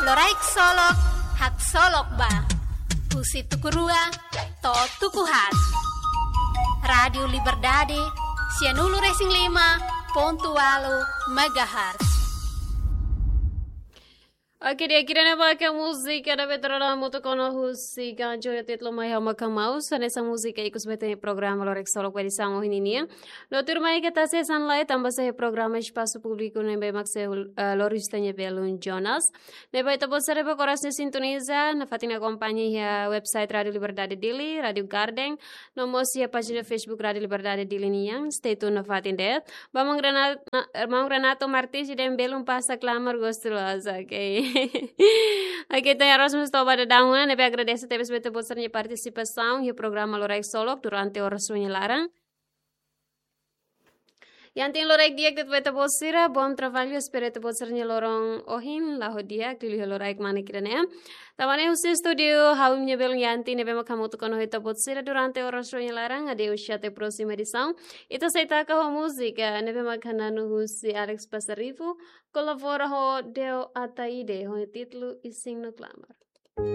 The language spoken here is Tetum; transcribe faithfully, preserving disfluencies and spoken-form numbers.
Loraik Solok, haksolok ba. Husi tuku rua to'o tuku haat. Rádiu Liberdade, sianulu-resin-lima pontu ualu megahertz. Oke, di'ak, ida-ne'e maka múzika ne'ebé traduz hamutuk ona husi Ganjo, ho títulu Mai Ha'u Maka Maus. Hanesan múzika ikus ba ita-nia programa Loraik Solok ba edisaun ohin nian. No tuirmai ita sei hanesan lai, tanba sai programa Espasu Públiku ne'ebé mak sei, eh, lori ita-nia belun Jonas. Ne'ebé ita-boot sira ne'ebé oras ne'e sintoniza, nafatin akompaña iha website Rádiu Liberdade Dili, Rádiu Garden, no mós iha pájina Facebook Rádiu Liberdade Dili nian. Stay tune nafatin de'it. Ba maun Renato, na-, maun Renato Martins ida-ne'ebé belun pasa klamar gostu loos, oke. Oke, entaun Erasmus toba da dauna, ne'ebé agradese tebes ba ita-boot sira-nia partisipasaun iha programa Loraik Solok durante oras ohin nia laran. Iha ne'e loraik di'ak de'it ba ita-boot sira, bom trabalho, espera ita-boot sira-nia loron ohin la'o di'ak, liuliu loraik manek ida-ne'e. Tanba ne'e husi estúdiu, ha'u-nia belun Yanti ne'ebé mak hamutuk ona ho ita-boot sira durante oras ohin nia laran, adeus, até próxima edição. Ita sei taka ho múzika ne'ebé mak hananu husi Alex Pasarivo, kolabora ho Deo Ataide, ho títulu Isin no Klamar.